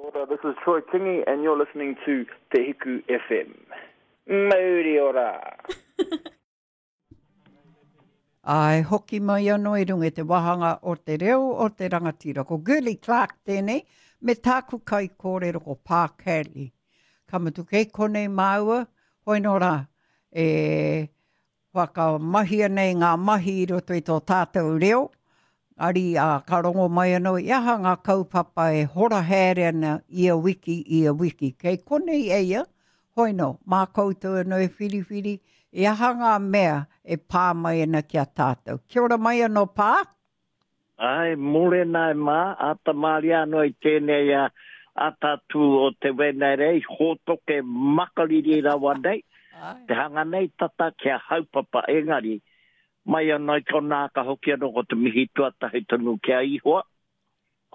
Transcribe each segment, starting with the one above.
Ora, this is Troy Kingi and you're listening to Te Hiku FM. Mauri ora! Ā, e hoki mai anō i runga i te wāhanga o te reo o te rangatira. Ko Girlie Clark tēnei, me tāku kaikōrero ko Pā Cadley. Ka mutu kei konei māua, hoi nō rā, e whakamahia nei ngā mahi i roto i tō tātou reo, ari, ā, ka rongo mai anō i aha ngā kaupapa e hora haere ana ia wiki, ia wiki. Kei konei eia, Hoi nō, mā koutou anō e whiriwhiri i aha ngā mea e pā mai ana ki a tātou. Kia ora mai anō Pā. Āe, mōrena e mā, āta māria anō i tēnei atatū o te Wenerei, hōtoke makariri rawa nei, te hanga nei tata kia haupapa, engari, mai anō i konā ka hoki anō ko te mihi tuatahi tonu ki a Ihoa,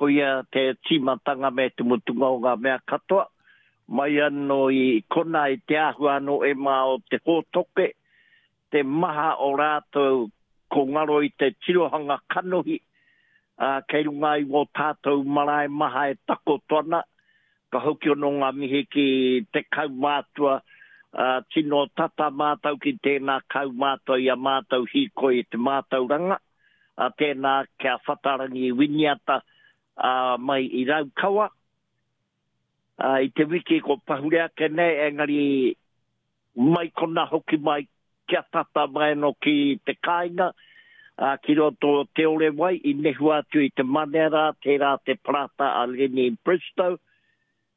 Koia te tīmatanga me te mutunga o ngā mea katoa, mai anō i konā i te āhua anō e mā o te hōtoke, te maha o rātou ko ngaro i te tirohanga kanohi, ā, kei runga i wō tātou marae maha e takoto ana, ka hoki anō ngā mihi ki te kaumātua, ā, tino tata mātou ki tēnā kaumātua i a mātou hīkoi i te mātauranga. a tēnā kia Whatarangi Winiata mai i Raukawa. I te wiki ko pahure ake nei, engari mai kona hoki mai kia tata mai anō ki te kāinga, ki roto o Te Orewai i nehua atu i te manea rā, tērā te parata a Lenny Bristow,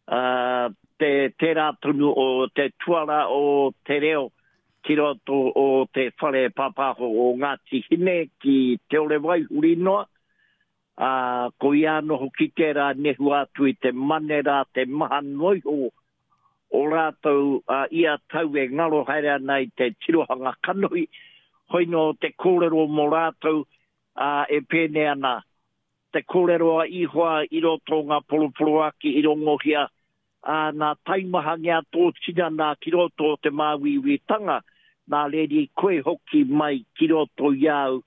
Ā, te, tērā tonu o te tuara o te reo ki roto o te whare pāpāho o Ngāti Hine ki Te Orewai huri noa, ā, ko ia anō hoki tērā nehua atu i te mane rā te maha noa iho o rātou ā ia tau e ngaro haere ana i te tirohanga kanohi, hoi nō te kōrero mō rātou, ā, e pēnei ana, Te kōrero a Ihoa i roto o ngā poroporoaki i rongohia, ā, nā taimahangia tō tinana ki roto o te māuiuitanga, nā reri koe hoki mai ki roto i a au,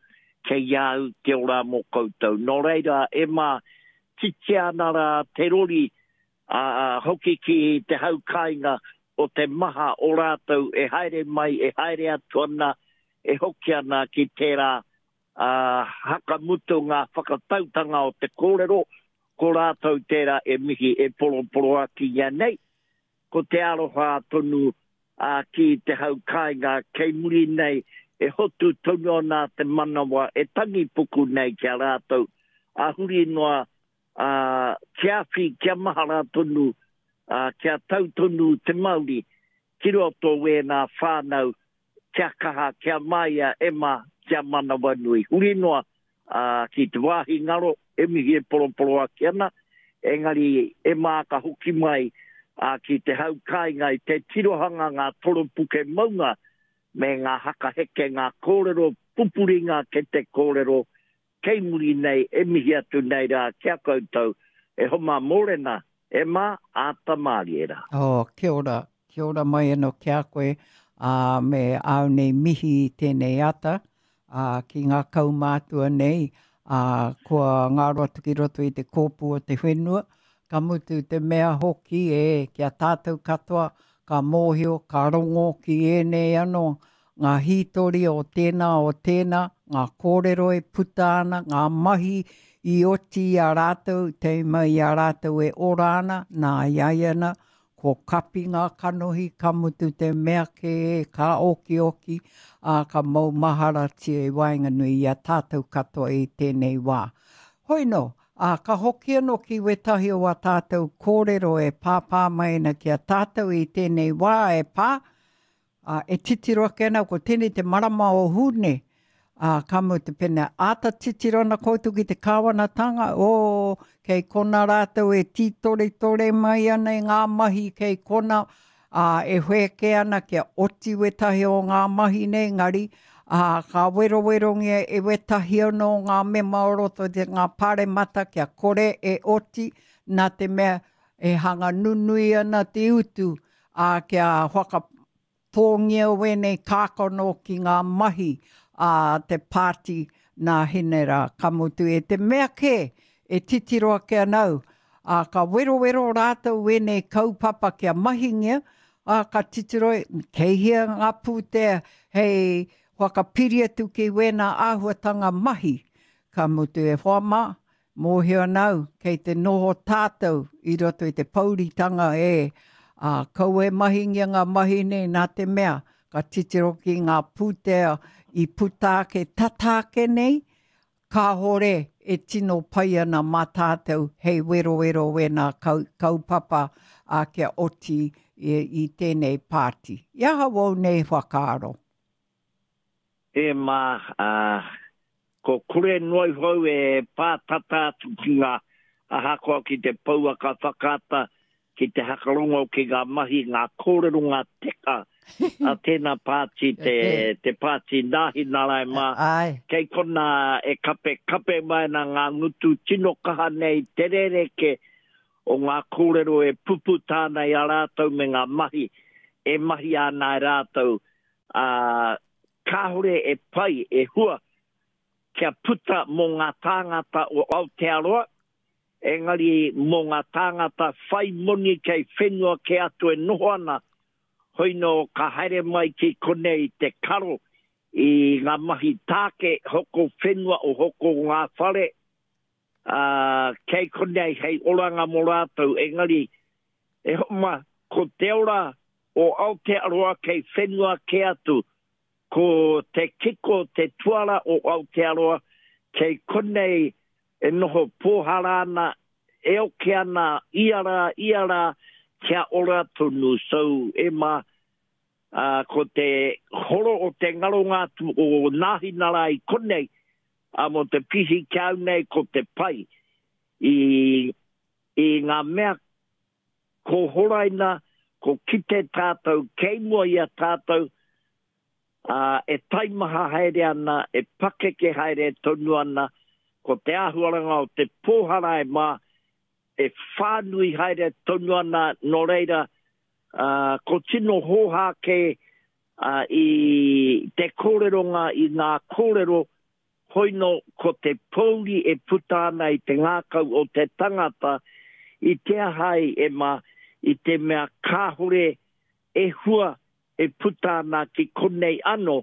kei a au te ora mō koutou. Nō reira, e mā, titia ana rā te rori, ā, hoki ki te hau kāinga o te maha o rātou e haere mai, e haere atu ana, e hoki ana ki tērā Ā, hakamutu ngā whakatautanga o te kōrero, ko rātou tērā e mihi, e poroporoakingia nei, ko te aroha tonu ā, ki te hau kāinga kei muri nei e hotu tonu ana te manawa e tangi puku nei ki a rātou, ā, huri noa, ā, kia awhi, kia mahara tonu, ā, kia tau tonu te mauri ki roto o ēnā whānau Kia kaha, kia māia, e ma, kia manawanui. Huri noa, ā, ki te wāhi ngaro, e mihi e poroporoaki ana, engari e mā ka hoki mai, ā, ki te hau kāinga i te tirohanga ngā toropuke maunga me ngā hakaheke, ngā kōrero pupuri ngā kete kōrero kei muri nei e mihi atu nei rā ki a koutou e homa mōrena e mā, āta mārie rā. Oh, kia ora, kia ora mai anō ki a koe, ā, me āu nei mihi i tēnei ata, ā, ki ngā kaumātua nei, ā, kua ngaro atu ki roto i te kōpū o te whenua, ka mutu te mea hoki e, ki a tātou katoa, ka mōhio, ka rongo ki ēnei anō, ngā hītori o tēnā, o tēnā, ngā kōrero e puta ana, ngā mahi i oti i a rātou, te mai i a rātou e ora ana, nā i a ia ana, ko kapi ngā kanohi, ka mutu te mea kē, ka okioki, ā, ka maumaharatia i waenganui i a tātou katoa i tēnei wā. Hoi nō, ā, ka hoki anō ki wētahi o ā tātou kōrero e pāpā mai ana ki a tātou i tēnei wā e pā, Ā, e titiro ake ana, ko tēnei te marama o Hūne, ā, ka mutu pēnā, āta titiro ana koutou ki te kāwanatanga, ō, kei kona rātou e tītoretore mai ana i ngā mahi kei kona, ā, e whēkē ana kia oti wētahi o ngā mahi nei, engari, ā, ka werowerongia e wētahi anō ngā mema o roto i te ngā pāremata kia kore e oti, nā te mea e hanga nunui ana te utu, ā, kia whakatōngia wēnei kākano ki ngā mahi a te pāti nā Hine rā. Ka mutu, e te mea kē e titiro ake ana au, Ā, ka werowero rātou wēnei kaupapa kia mahingia, ā, ka titiro, kei hea ngā pūtea hei whakapiri atu ki wēnā āhuatanga mahi. Ka mutu e hoa mā, mōhio ana au, kei te noho tātou i roto i te pouritanga e, ā, kaua e mahingia ngā mahi nei nā te mea, ka titiro ki ngā pūtea i puta ake tata ake nei, kāore e tino pai ana mā tātou hei werowero wēnā kaupapa, ā, kia oti i tēnei pāti. I aha wōu nei whakaaro? E mā, ā, ko kore noa iho au e pātata atu ki ngā, ahakoa ki te pouaka whakaata, ki te hakarongo ki ngā mahi, ngā kōrero, ngā teka a tēnā pāti, te, te pāti Nāhinara e mā, kei konā e kape kape mai ana ngā ngutu tino kaha nei te rerekē o ngā kōrero e puputa ana i a rātou me ngā mahi e mahia ana e rātou ā, kāore e pai, e hua kia puta mō ngā tāngata o Aotearoa, engari mō ngā tāngata whai moni kei whenua kē atu e noho ana, hoino ka haere mai ki konei te karo i ngā mahi tāke hoko whenua o hoko ngā whare, ā, kei konei hei oranga mō rātou, engari e hoa ma, ko te ora o Aotearoa kei whenua kē atu, ko te kiko, te tuara o Aotearoa kei konei e noho pōhara ana, e oke ana ia rā, ia rā, kia ora tonu. So, e ma, ā, ko te horo o te ngaronga atu o Nāhinara i konei, ā, mō te pihi ki a au nei ko te pai i, i ngā mea Ko horaina, ko kite tātou kei mua i a tātou, ā, e taimaha haere ana, e pakeke haere tonu ana, ko te āhuaranga o te pōhara e mā, e whānui haere tonu ana, nō reira, ā, ko tino hōhā kē, ā, i te kōreronga i ngā kōrero Hoino ko te pōuri e puta ana i te ngākau o te tangata i te aha ai e ma i te mea kāhore e hua e puta ana ki konei ano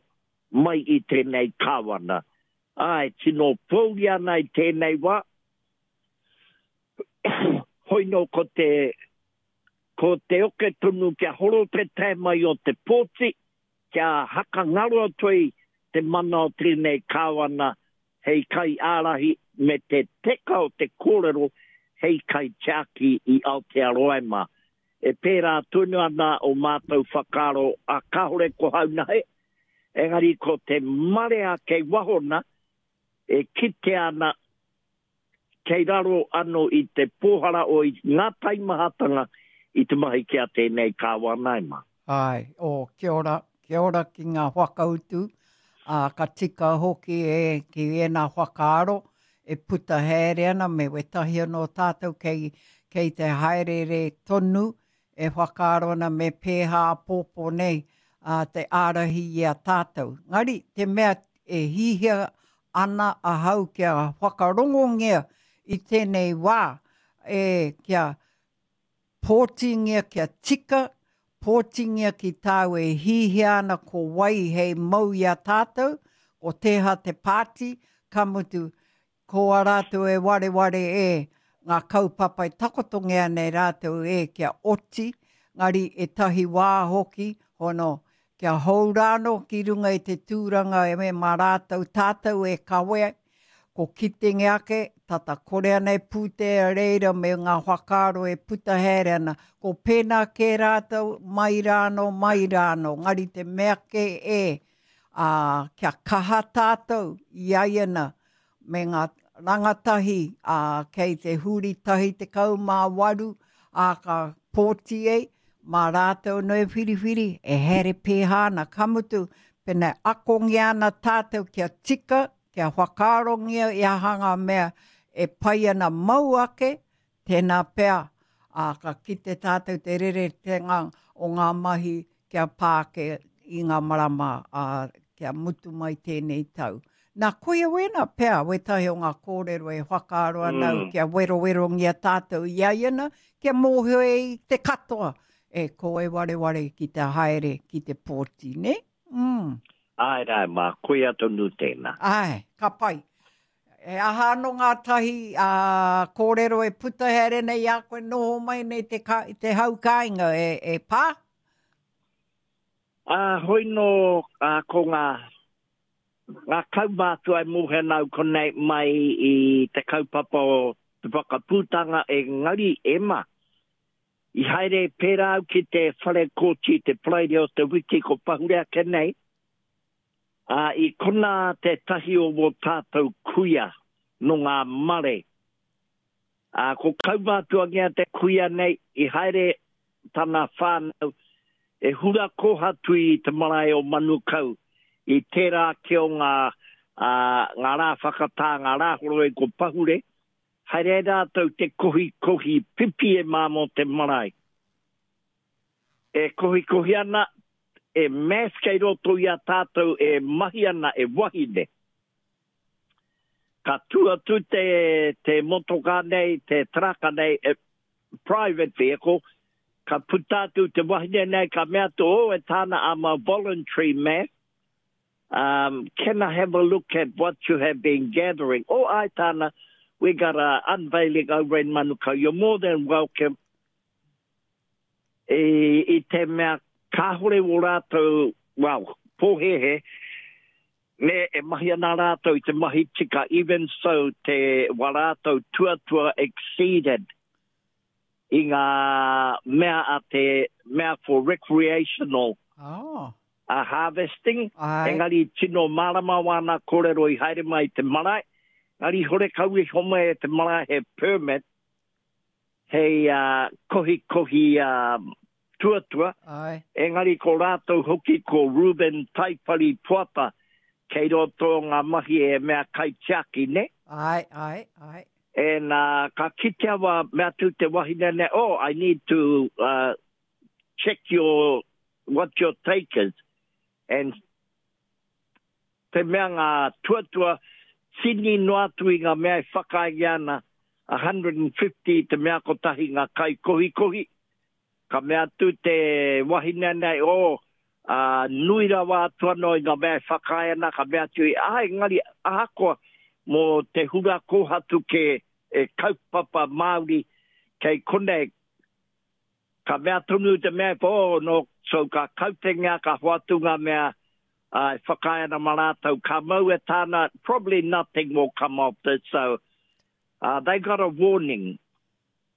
mai i tēnei kāwana. Āe, tino pōuri ana i tēnei wā. Hoino ko te ko te oke tonu kia horo te tae mai o te pōti, Kia hakangaro atu ai te mana o tēnei Kāwana hei kaiārahi me te teka o te kōrero hei kaitiaki i Aotearoa e mā. E pērā tonu ana o mātou whakaaro a kāore ko Haunahe, engari ko te marea kei waho na, e kitea ana kei raro ano i te pōhara o i ngā taimahatanga i te mahi ki a tēnei Kāwana e mā. Āe, oh, kia ora, kia ora ki ngā whakautu, ā, ka tika hoki e, ki ēnā whakaaro e puta haere ana me wētahi anō tātou kei, kei te haereere tonu e whakaaro ana me pēhā āpōpō nei ā, te ārahi i a tātou. Ngari, te mea e hihia ana ahau kia whakarongongia i tēnei wā, e, kia pōtingia kia tika, pōtingia ki tāu e hihia ana ko wai hei mau i a tātou, ko tēhā te pāti, ka mutu, Ko a rātou e wareware e, ngā kaupapa e takotongia ana e rātou e kia oti, ngari ētahi wā hoki, hono, kia hou rānō ki runga i te tūranga e mā rātou tātou e kawe, ko kitenge ake, tata kore ana e pūtea reira me ngā whakaaro e puta haere ana, ko pēnā kē rātou mai rānō, mai rānō, ngari te mea kē e, ā, kia kaha tātou i aiana me ngā rangatahi, ā, kei te huri tahi 18, ā, ka pōti ei, mā rātou anō e whiriwhiri, e haere pēhā ana, ka mutu, pēnā e akongia ana tātou kia tika, kia whakaarongia i aha ngā mea e pai ana mau ake, Tēnā pea, ā, ka kite tātou te reretenga o ngā mahi kia pā ake i ngā marama, ā, kia mutu mai tēnei tau. Nā, koia wēnā pea wētahi o ngā kōrero e whakaaro ana au kia werowerongia tātou i a ia na, kia mōhio e i te katoa, e ko e wareware ki te haere ki te pōti, nē? Mm. Āe rā e mā, koia tonu tēnā. Āe, ka pai. E aha anō ngā tahi ā, kōrero e puta haere nei i a koe noho mai nei te, ka, te hau kāinga e, e pā? Ā, hoi nō, ā, ko ngā, ngā kaumātua e mōhio ana au konei mai i te kaupapa o te whakaputanga engari e ma, i haere pērā au ki te whare kōti te Paraire o te wiki ko pahure ake nei, ā, i konā tētahi o wō tātou kuia nō ngā mare Ā, ko kaumātuangia te kuia nei, i haere tana whānau e hura kōhatu i te marae o Manukau i tērā ake o ngā, ā, ngā rā whakatā, ngā rā horoi ko pahure, haere ai rātou te kohikohi pipi e mā mō te marae. E kohikohi ana, e mass kei roto i a tātou e mahi ana e wahine. Ka tū atu te, te motokā nei, te taraka nei, e, private vehicle, ka puta atu te wahine nei, ka mea atu, oh, e tāna, I'm a voluntary man. Um, can I have a look at what you have been gathering? Oh, ai tāna, we got a unveiling over in Manukau. You're more than welcome. I, i te mea kāhore wō rātou, well, pōhēhē, Me e mahi ana rātou i te mahi tika, even so te wa rātou tuatua exceeded i ngā mea a te mea for recreational oh. a harvesting, Ai. engari tino mārama wāna kōrero i haere mai i te marae, engari horekau i homai e te marae he permit hei uh, kohikohi uh, tuatua, Ae. engari ko rātou hoki ko Reuben Taipari Poata kei roto o ngā mahi e mea kaitiaki, ne? Ae, ae, ae. And uh, ka kitea wa mea atu te wahine nei, oh, I need to uh, check your, what your take is. And te mea ngā tuatua tini noa atu i ngā mea e whakaaengia ana, 150 te mea kotahi ngā kaikohikohi, Ka mea atu te wahine nei, Oh, ā, nui rawa atu anō i ngā mea e whakaae ana, ka mea atu ia, Āe, engari ahakoa mō te hura kōhatu kē e kaupapa Māori kei konei, ka mea tonu te mea, Oh, no, so ka kautengia, ka hoatu ngā mea, ā, e whakaae ana mā rātou, ka mau e tāna, probably nothing will come of this, so, uh, they got a warning.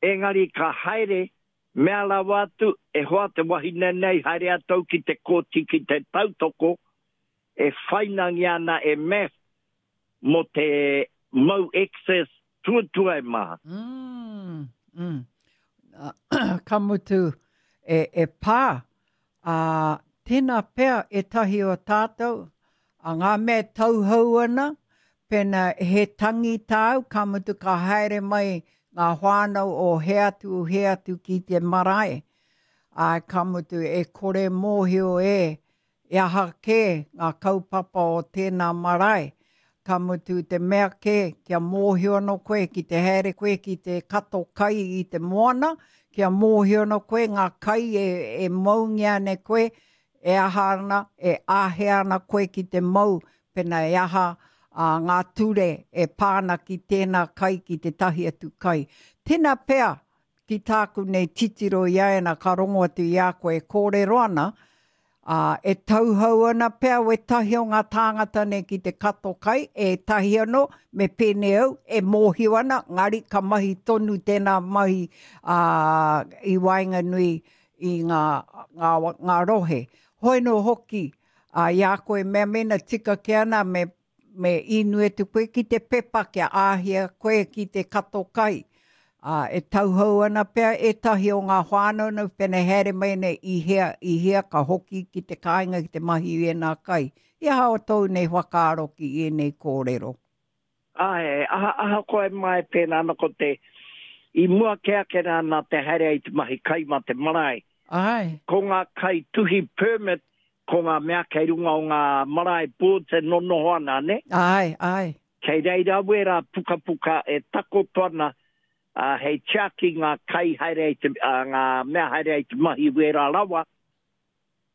Engari ka haere, mea rawa atu, e hoa te wahine nei haere atu au ki te kōti ki te tautoko, e whainangia ana e Math mo te mau excess tuatua e maha. Mm, mm. Ka mutu, e, e pā, ā, tēnā pea ētahi o tātou, a ngā mea e tauhou ana, pēnā he tangi tāu, ka mutu ka haere mai ngā whānau o hea atu, hea atu ki te marae, ā, ka mutu e kore mōhio e E aha kē ngā kaupapa o tēnā marae? Ka mutu te mea kē, kia mōhio anō koe ki te haere koe ki te kato kai i te moana, kia mōhio anō koe ngā kai e, e maungia ana e koe, e aha ana, e āhea ana koe ki te mau, pēnā e aha a, ngā ture e pā ana ki tēnā kai, ki tētahi atu kai. Tēnā pea, ki tāku nei titiro i a ēnā ka rongo atu i a koe e kōrero ana, ā, e tauhou ana pea wētahi o ngā tāngata nei ki te kato kai, ētahi anō, me pēnei au, e mōhio ana, ngari ka mahi tonu tēnā mahi, ā, i waenganui i ngā, ngā, ngā rohe. Hoi nō hoki, ā, i a koe mea mēnā tika kē ana me Me inu atu koe ki te pepa kia āhia koe ki te kato kai. Ā, e tauhou ana pea ētahi o ngā whānau nei, pēnei haere mai nei i hea, i hea ka hoki ki te kāinga ki te mahi i ēnā kai. I aha o tōu nei whakaaro ki ēnei kōrero? Āe, aha, ahakoa e mae pēnā ana ko te, i mua kē ake rā nā te haere ai te mahi kai mā te marae. Āe. Ko ngā kai tuhi permit. Ko ngā mea kei runga o ngā marae boards e nonoho ana, nē? Āe, āe. Kei reira wērā pukapuka e takoto ana, ā, hei tiaki ngā kai haere ai te, ā, ngā mea haere ai te mahi wērā rawa,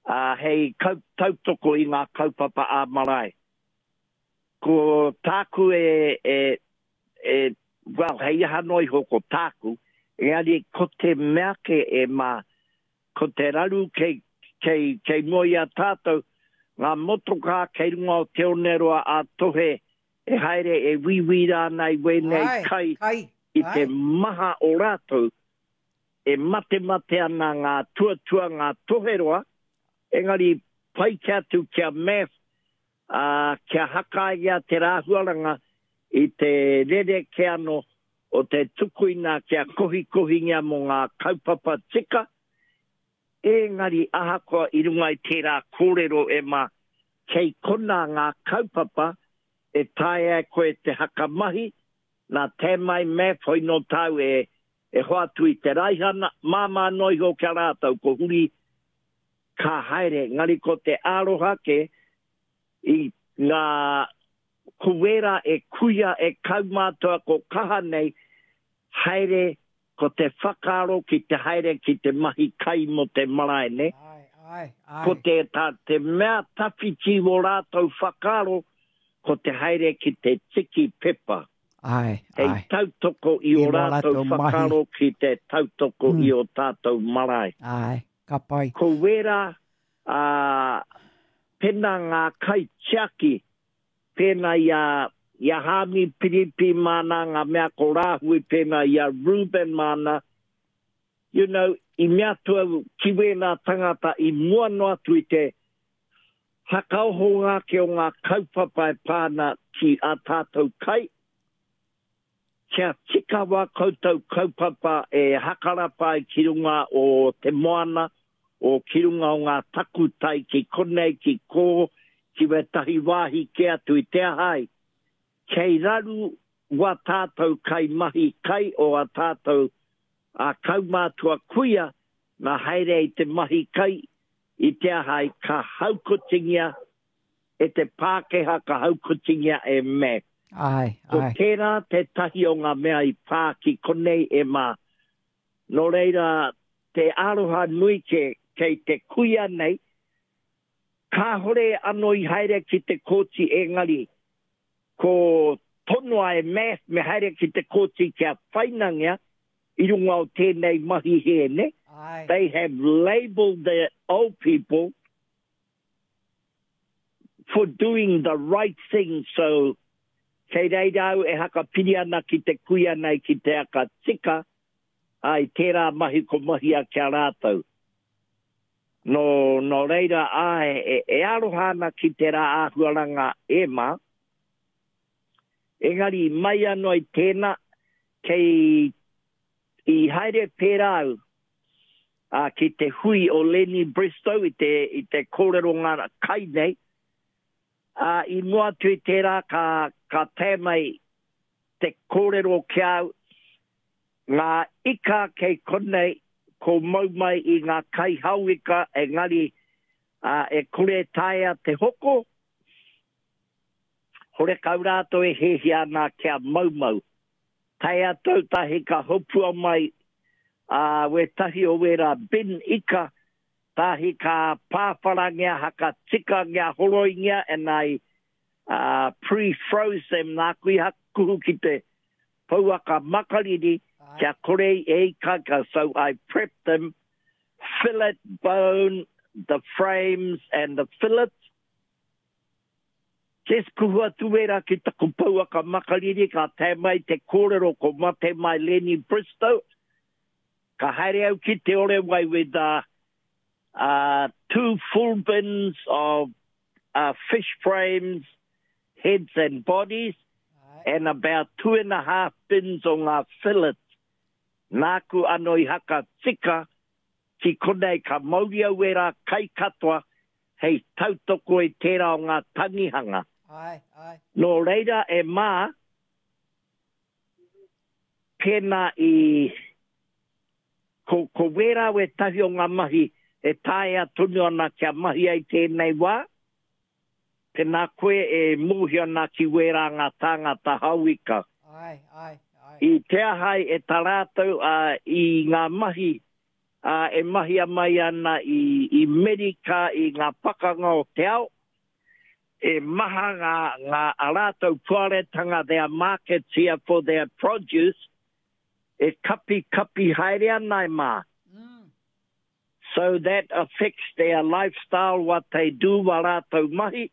ā, hei kau, tautoko i ngā kaupapa ā-marae. Ko tāku e, e, e, well, hei aha noa iho ko tāku, engari ko te mea kē e mā, Ko te raru kei, kei, kei mua i a tātou, ngā motokā kei runga o Te Oneroa a Tohe e haere e wīwī rā ana i wēnei Āe, kai kai, i te āe. maha o rātou, e matemate ana ngā tuatua, ngā toheroa, engari pai ke atu ki a Math, ā, kia hakaia te rāhuaranga i te rerekē anō o te tukuina kia kohikohingia mō ngā kaupapa tika, ēngari ahakoa i runga i tērā kōrero e mā, kei konā ngā kaupapa e taea e koe te hakamahi, nā Tamai Maff hoi nō tāu e e hoatu i te raihana, māmā noa iho ki a rātou, ko huri ka haere, engari ko te aroha kē i ngā Ko wērā e kuia e kaumātua ko kaha nei haere ko te whakaaro ki te haere ki te mahi kai mō te marae nē. Āe, āe, āe. Ko te tā te mea tawhiti wō rātou whakaaro ko te haere ki te tiki pepa. Āe, āe. Hei tautoko i ō rātou whakaaro ki te tautoko i ō tātou marae. Āe, ka pai. Ko wērā, ā, pēnā ngā kaitiaki pēnā i a, i a Hāmi Piripi māna, ngā mea ko Rāhui pēnā i a Reuben māna, you know, i mea atu au ki wēnā tangata i mua noa atu i te hakaohonga ake o ngā kaupapa e pā ana ki ā tātou kai, Kia tika wā koutou kaupapa e hakarapa ai ki runga o te moana, o ki runga o ngā takutai ki konei, ki kō, ki wētahi wāhi kē atu i te aha ai. Kei raru wā tātou kai mahi kai o ā tātou ā kaumātua kuia nā haere i te mahi kai i te aha ai ka haukotingia e te Pākehā ka haukotingia e Mac. Āe, Ko āe. tērā tētahi o ngā mea i pā ki konei e Mā. Nō reira, te aroha nui kē kei te kuia nei, kāhore anō i haere ki te kōti engari ko tonoa e Math me haere ki te kōti kia whainangia i runga o tēnei mahi hē, nē? Āe. They have labelled the old people for doing the right thing so kei reira au e hakapiri ana ki te kuia nei ki te aka tika, ā, i tērā mahi ko mahia ki a rātou. Nō, nō reira, āe, e, e aroha ana ki tērā āhuaranga e mā. Engari, mai anō i tēnā, kei, i haere pērā au, ā, ki te hui o Lenny Bristow i te, i te kōrero ngā kai nei, ā, i mua atu i tērā ka, ka tae mai te kōrero ki a au, ngā ika kei konei, ko mau mai i ngā kaihao ika, engari, ā, e kore e taea te hoko, horekau rātou e hiahia ana kia maumau. Tae atu tahi ka hopua mai a wētahi o wērā bin ika, tahi ka pāwharangia haka tikangia horoingia and I pre-froze them nāku i hakuhu ki te pouaka makariri kia kore e ikaika so I prepped them, fillet, bone, the frames and the fillets. Just kuhu atu wērā ki taku pouaka makariri ka tae mai te kōrero ko mate mai Lenny Bristow. Ka haere au ki Te Orewai with two full bins of fish frames, heads and bodies, and about 2.5 bins o ngā fillets. Nāku ano i haka tika Ki konei ka mauri au ērā kai katoa hei tautoko i tērā o ngā tangihanga. Āe, āe. Nō reira e mā, pēnā i, ko, ko wērā wētahi o ngā mahi e taea tonu ana kia mahi ai tēnei wā, tēnā koe e mōhio ana ki wērā ngā tāngata hauika. Āe, āe, āe. I te aha ai e tā rātou i ngā mahi e mahia mai ana i i Merika i ngā pakanga o te ao, e maha ngā ngā a rātou puaretanga their markets here for their produce e kapi kapi haere ana e mā. So that affects their lifestyle, what they do, wā rātou mahi.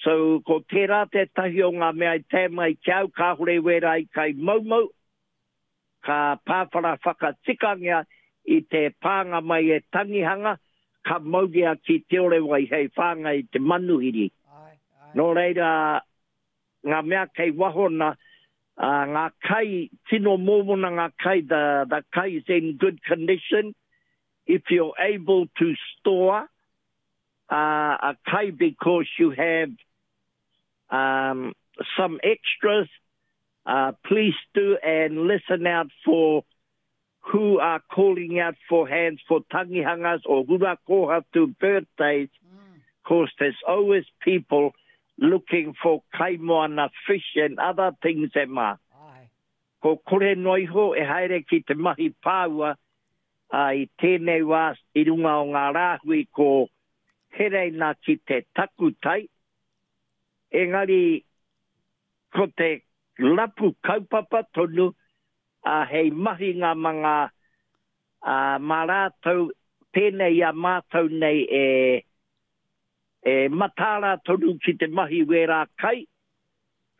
So ko tērā tētahi o ngā mea i tae mai ki au, kāore wērā i kai moumou, ka pāwhara whakatikangia i te pānga mai e tangihanga, ka mauria ki Te Orewai hei whāngai i te manuhiri. Nō reira, ngā mea kei waho na, ngā kai, tino mōmona ngā kai, the, the kai is in good condition, if you're able to store uh, a kai because you have um, some extras, uh, please do and listen out for who are calling out for hands for tangihangas or hura kohatu birthdays. Course, there's always people looking for kaimoana fish and other things e mā. Ko kore noa iho e haere ki te mahi pāua i tēnei wā i runga o ngā rāhui ko Hereina ki te takutai, engari ko te rapu kaupapa tonu hei mahinga ma ngā, mā rātou pēnei i a mātou nei e e mataara tonu ki te mahi wērā kai,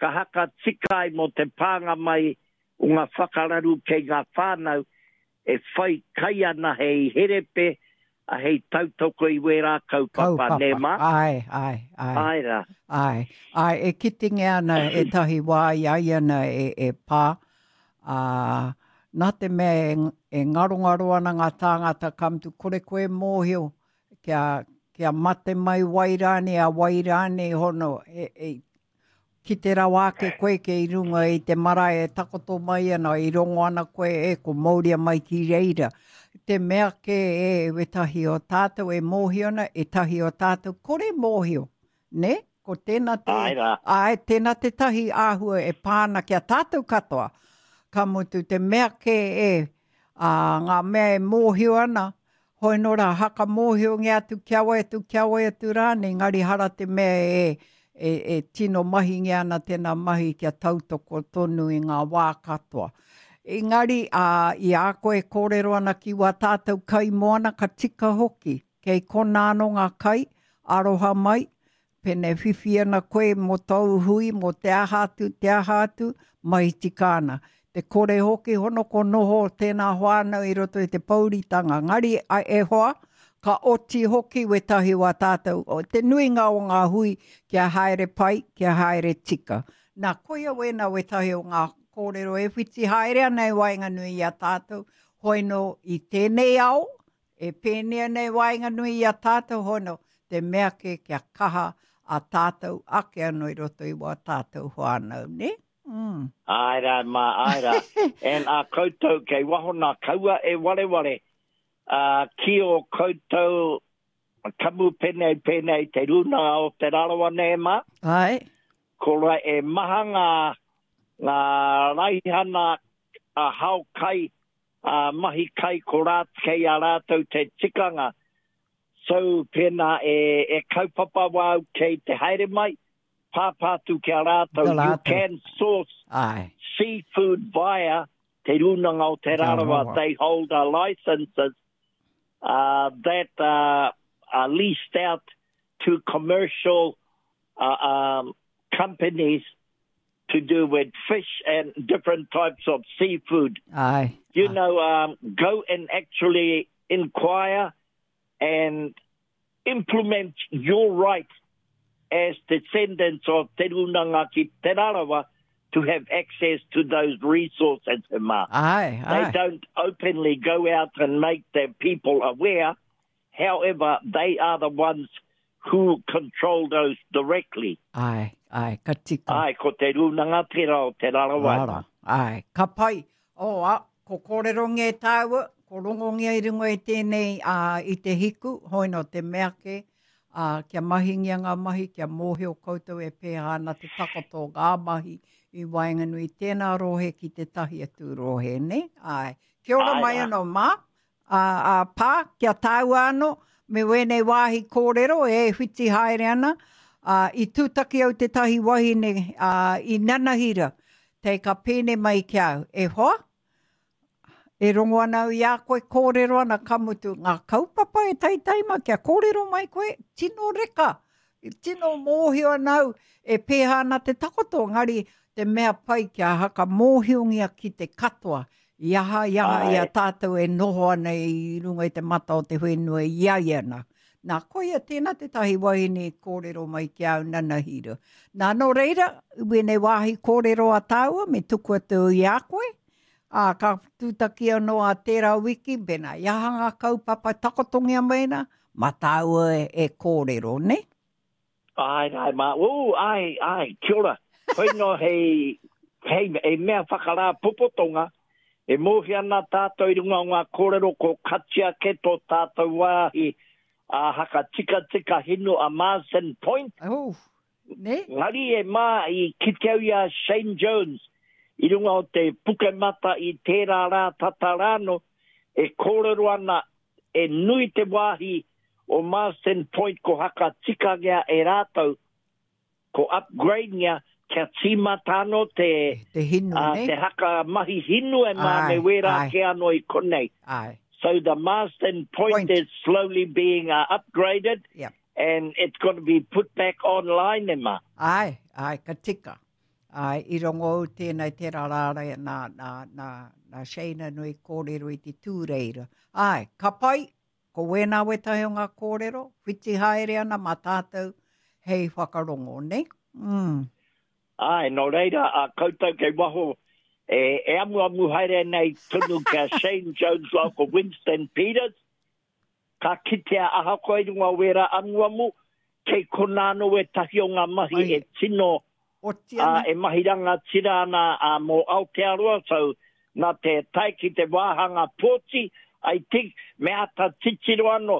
ka haka tika ai mō te pānga mai o ngā whakararu kei ngā whānau e whai kai ana hei herepe, a hei tautoko i wērā kaupapa, nē mā? Āe, āe, āe. Āe rā. Āe, āe, e kitingia ana ētahi wā i a ia ana e, e pā, ā, nā te mea e, e ngarongaro ana ngā tāngata ka mutu kore koe mōhio kia, kia mate mai wai rānei, a wai rānei hono, e, e, Kite rawa ake koe kei runga i te marae e takoto mai ana, i rongo ana koe e ko mauria mai ki reira. Te mea kē e wetahi o tātou e mōhio ana, ētahi o tātou kore mōhio, nē? Ko tēnā te, Āe rā. āe, tēnā tētahi āhua e pā ana ki a tātou katoa. Ka mutu, te mea kē e, ā, ngā mea e mōhio ana, Hoi nō rā, haka mōhiongia atu kia wai atu, kia wai atu rānei, engari hara te mea e, e, e tino mahingia ana tēnā mahi kia tautoko tonu i ngā wā katoa. Engari, ā, i a koe e kōrero ana ki wā tātou kai moana, ka tika hoki. Kei konā anō ngā kai, aroha mai, Pene whiwhi ana koe mō tōu hui, mō te aha atu, te aha atu, mahi tika ana. Te kore hoki hono ko noho tēnā whānau i roto i te pouritanga. Ngari, e hoa, ka oti hoki wētahi o a tātou, te nuinga o ngā hui kia haere pai, kia haere tika. Nā, koia wēnā wētahi o ngā kōrero e whiti haere ana i waenganui i a tātou, hoi nō i tēnei ao, E pēnei ana i waenganui i a tātou hono, te mea kē kia kaha a tātou ake anō i roto i wā tātou whānau, nē? Mm. Āe rā, mā, āe rā. And a koutou kei waho nā, kaua e wareware uh, ki o koutou kamupene pēnei te Rūnanga o Te Rarawa nē, mā? Āe. Ko ra e maha ngā, ngā raihana a hao kai ā, mahi kai ko rā, kei a rātou te tikanga. So, pēnā e, e kaupapa wāu kei te haere mai, pāpā atu ki a rātou, you can source Aye. seafood via Te Rūnanga o Te Rarawa, they hold a licenses uh, that uh, are leased out to commercial uh, um, companies to do with fish and different types of seafood. Aye. You aye. know, um, go and actually inquire and implement your right as descendants of Te Runanga ki Te Rarawa to have access to those resources. Aye, aye. They don't openly go out and make their people aware. However, they are the ones who control those directly. Ae, ae, ka tika. Ae, ko te Rūnanga tērā o Te Rarawa. Rara, ae, ka pai. Oh, a, ko kōrerongia e tāua, Ko rongongia i runga i tēnei ā, i te hiku, hoi nō te mea kē, ā, kia mahingia ngā mahi, kia mōhio koutou e pēhā ana te takoto o ngā mahi i waenganui i tēnā rohe ki tētahi atu rohe, nē? Āe. Kia ora mai anō, Mā, ā, ā, Pā, kia tāua anō, me wēnei wāhi kōrero e whiti haere ana, ā, i tūtaki au tētahi wahine, ā, i nanahira, tei ka pēne mai ki a au, e hoa, E rongo ana au i a koe kōrero ana ka mutu ngā kaupapa e taitai ma kia kōrero mai koe, tino reka, tino mōhio ana au e pēhā ana te takoto, engari te mea pai kia hakamōhiongia ki te katoa, i aha, i aha, i a tātou e noho ana i runga i te mata o te whenua i a ia nā. Nā, koia tēnā tētahi wahine i kōrero mai ki a au nanahira. Nā, nō reira, wēnei wāhi kōrero a tāua, me tuku atu i a koe, ā, ka tūtaki anō a tērā wiki, pēnā i aha ngā kaupapa takotongia mai nā, mā tāua e, e kōrero, nē? Āe, āe, mā, ū, āe, āe, kia ora. Hoi nō hei, hei, hei mea whakarāpopotonga, E mōhio ana tātou i runga o ngā kōrero ko katia kē tō tātou wāhi a hakatikatika hinu a Marsden Point. Oh, ne? Ngari e mā i kite au i a Shane Jones i runga o te Pukemata i tērā rā tata rāno e kōrero ana e nui te wāhi o Marsden Point ko hakatikangia e rātou Ko upgrade-ngia kia tīmata anō te, te hinu, uh, te haka mahi hinu e mā me wērā kē anō i konei. Ai. So the Marsden Point, Point. is slowly being uh, upgraded yep. and it's going to be put back online e mā. Ai, ai, ka tika. Ai, i rongo au tēnei tērā rārai nā, nā, nā, nā Shana nui kōrero i te tūreira. Ai, ka pai, Ko wēnā wētahi o ngā kōrero, whiti haere ana mā tātou hei whakarongo, nē? Mm. Āe, nō reira, a koutou kei waho e, e amuamu haere nei tonu ki a Shane Jones rāua ko Winston Peters, ka kitea ahakoa i runga o wērā amuamu, kei konā anō wētahi o ngā mahi e tino Oti ana. Ā, e mahi rangatira ana a mō Aotearoa, so nā te tae ki te wāhanga pōti, I think, me āta titiro anō,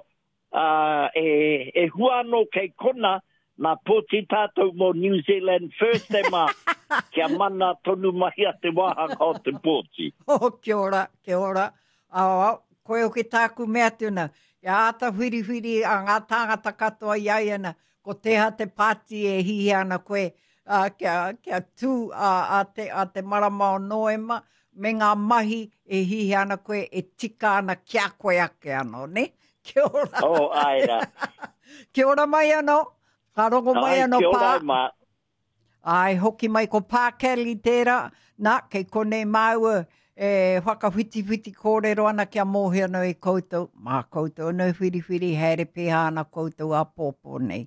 ā, e, e hua anō kei kona, nā pōti tātou mō New Zealand First e mā, kia mana tonu mai a te wāhanga o te pōti. Oh, kia ora, kia ora. Ao, ao, koe hoki tāku mea atu na, kia āta whiriwhiri a ngā tāngata katoa i a ia na, Ko teha te pāti e hihia ana koe uh, kia, kia tū a, a, te, a te marama o Noema me ngā mahi e hihia ana koe e tika ana ki a koe ake anō, ne? Kia ora. Oh, ai rā. kia ora mai anō. Ka rongo mai anō pā. Kia ora mā. Āe, hoki mai ko Pā Kelly tērā, nā, kei konei māua e whakawhitiwhiti kōrero ana kia mōhio anō e koutou, mā koutou anō e whiriwhiri haere pēhā ana koutou āpōpō nei.